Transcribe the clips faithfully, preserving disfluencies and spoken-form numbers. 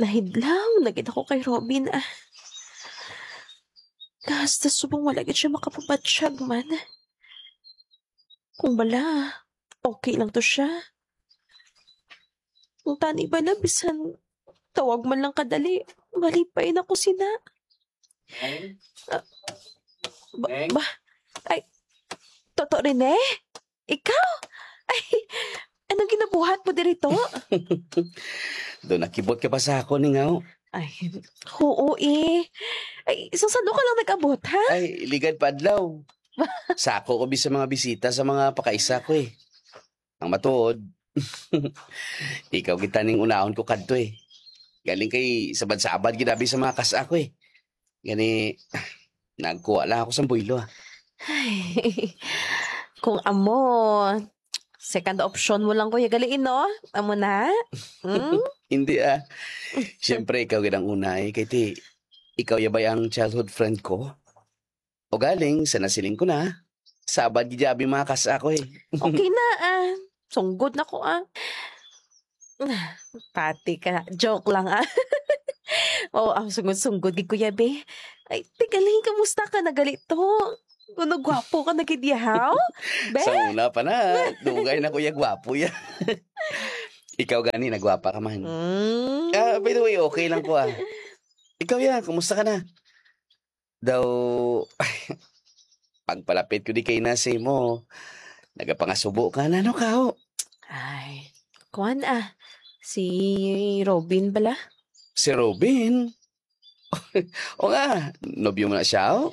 Nahidlaw na gid ako kay Robin, ah. Hasta subong wala gid siya makapabatyag man. Kung bala, okay lang to siya. Kung tani bala, bisan tawag man lang kadali, malipay na ko sina. Beng? Ah, ba, Beng? Ba? Ay, Toto Rene? Ikaw? Ay, anong ginabuhat mo diri to? Do nakibot ka pa sa ako, Ningaw? Ay, oo eh. Ay, sang sano ka lang nag-abot, ha? Ay, ligad pa adlaw. Sako ko bi sa mga bisita sa mga pakaisa ko eh. Ang matuod, ikaw kita ning unahon ko kadto eh. Galing kay sabad-sabad gid abi sa mga kas-a ko eh. Gani, nagkuha lang ako sang buylo, ah. Ay, kung amo, second option mo lang, Kuya Galiin, no? Amo na? Hmm? Hindi, ah. Siyempre, ikaw gid ang una, eh. Kay ti, ikaw ya bay ang childhood friend ko? O galing, sa nasiling ko na, sabad gid ya abi mga kas-a ko, eh. Okay na, ah. Sunggod na ko, ah. Pati ka. Joke lang, ah. Oo, ang sunggod-sunggod gid, Kuya Be. Ay, tigaling, kamusta ka na gali to? Kuno gwapo ka na gid, yahaw? Be? Sa una pa na, dugay na, Kuya, gwapo ya. Ikaw gani, nagwapa ka man. Mm. Ah, by the way, okay lang ko, ah. Ikaw ya, kumusta ka na? Daw, pagpalapit ko di kay na sa imo, nagapangasubo ka na, no, kao? Ay, kuwan, ah. Si Robin bala? Si Robin? O nga, nobyo mo na siya, oh?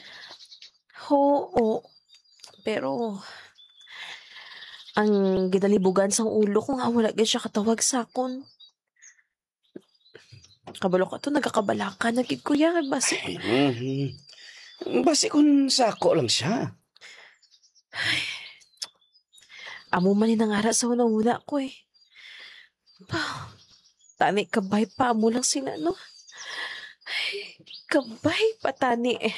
Oo. Pero, ang gidalibugan sang ulo ko nga wala gid siya katawag sa akon. Kabalo ka to, nagakabalaka na gid, kuya. Basi Mhm. Basi kun sako lang siya. Amo man ni nangara sa hunahuna ko, eh. Pa, tani kabay pa, amo lang sila, no? Ay, kabay pa tani, eh.